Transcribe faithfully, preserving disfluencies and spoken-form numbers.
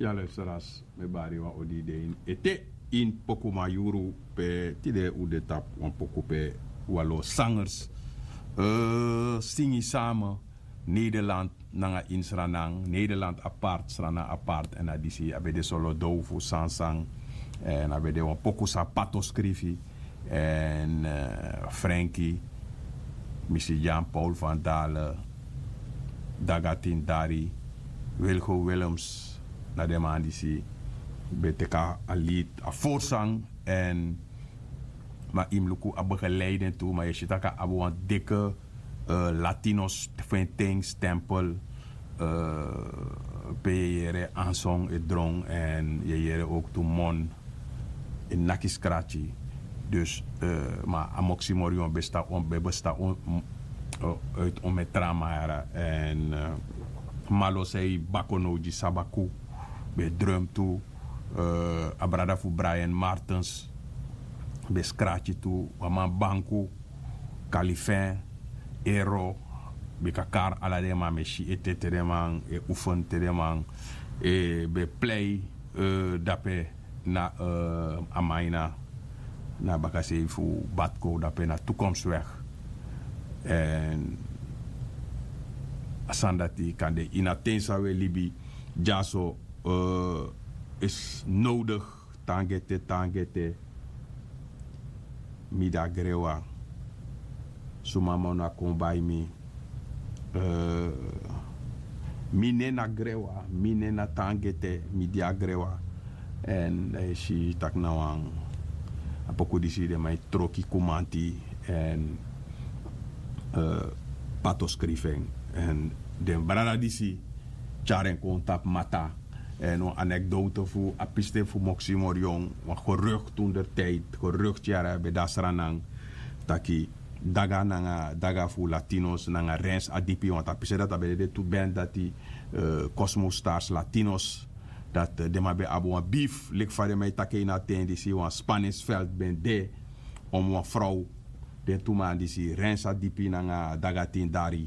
Ya luisteraars, mi bari wan odi de in ete in poku mayuru pe tide u de tapu wan poku pe walo sangers, eh, singi same Nederland nanga in Sranan, Nederland apart, Sranan apart. En a disi a ben de solo dow fu Sansan. En a ben de wan poku san Pato skrifi. En eh, Frenkie, mi si Jean Paul van Dalen, Dagatin Dari, Wilgo Willems, na den man disi ben teki a lead, a voorzang. En ma yu mus luku a begeleiding tu, ma yu e si tak' a abi wan dikke eh, Latinos fu en ten stempel, eh, pe yu e yere Anson e dron en yu e yere ook tu Mon e naki skrati. Dus eh, ma a Moksi Morion ben sta on, ben sta on, mm, eh, uit on met Tramara. En eh, Malo sei Bakono di Sabaku ben drum tu, eh, a brada fu Brian Martens ben skrati tu, wan man banku, Kalifin, Ero, bika kari ala den man, mi e si ete te den man e oefen, te den man e ben plei, eh, dape na eh, a man ini a, na bakasei fu Batko dape na Toekomstweg. En a sani dati kan de ini a ten san wi e libi dyaso, eh, is nodig. Tangete, tangete, mi de a grewa. Suma man no a kon bai mi. Eh, mi nen na grewa, mi nen na tangete, mi de a grewa. En dan yu si tak' na wan, a poku disi den man e troki kumanti. En eh, Pato skrifi en. En den brada disi tyari en kon tapu mata. En wan anekdote fu a pisten fu Moksi Morion, wan gerucht toen der tijd, gerucht yara ben de a Sranan, taki Daga nanga, Daga fu Latinos nanga Rens Adipi, want a pisten dati a ben de tu band dati, eh, Cosmo Stars Latinos, dati eh, den man ben abi wan beef, leki fa den man e taki ini a ten disi, wan spanningsveld ben de om wan vrouw. Den tu man disi, Rens Adipi nanga Daga Tin Dari,